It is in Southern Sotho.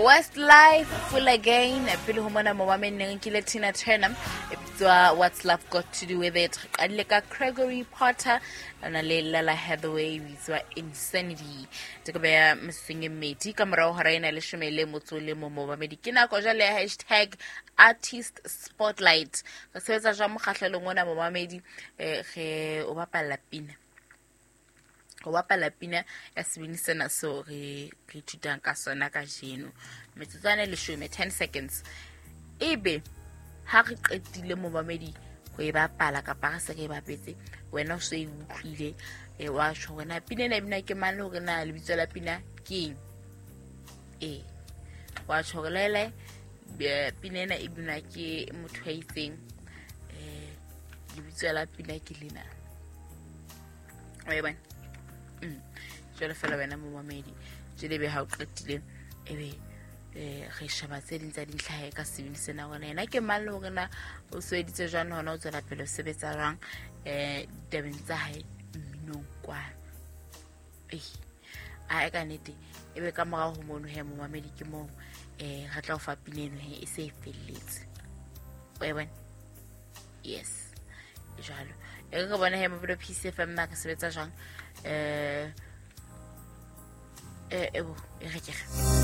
Westlife, Full Again. Pele ho mona momameng ne re nkile Tina Turner e bitswa What's Love Got to Do With It. Re qadile ka Gregory Porter a na le Lala Hathaway e bitswa Insanity. Tse beya metsotsong e mmedi ka morago hora ena leshome le motso le mo momamedi. Ke nako jwale ya hashtag artist spotlight. Re sebetsa jwang mokgahlelong ona momamedi, re o bapalla pina. Go bapala pina ya sebini sena seo re ithutang ka sona kajeno. Metsotswana e leshome, 10 seconds. Ebe ha re qetile momamedi go e bapala kapa re se re e bapetse, wena o se e utlwile, wa tjho hore na pina ena e bina ke mang le hore na lebitso la pina ke eng. Ee, wa tjho hore lele pina ena e binwa ke motho ya itseng, lebitso la pina ke lena. Wa e bona? Jwale fela wena momamedi, jwale ebe ha o qetile ebe re sheba tse ding tsa dintlha ka sebini sena hore yena ke mang le hore na o sebeditse jwang le hona o tswela pele o sebetsa jwang ditabeng tsa hae mminong kwana. A e ka nnete ebe ka morao ho mono he momamedi ke moo re tla o fa pina eno he e se e felletse. Wa e bona? Yes, jwalo. E re bona he Mobile Peace FM na re sebetsa jwang. Ebo, e re ke re.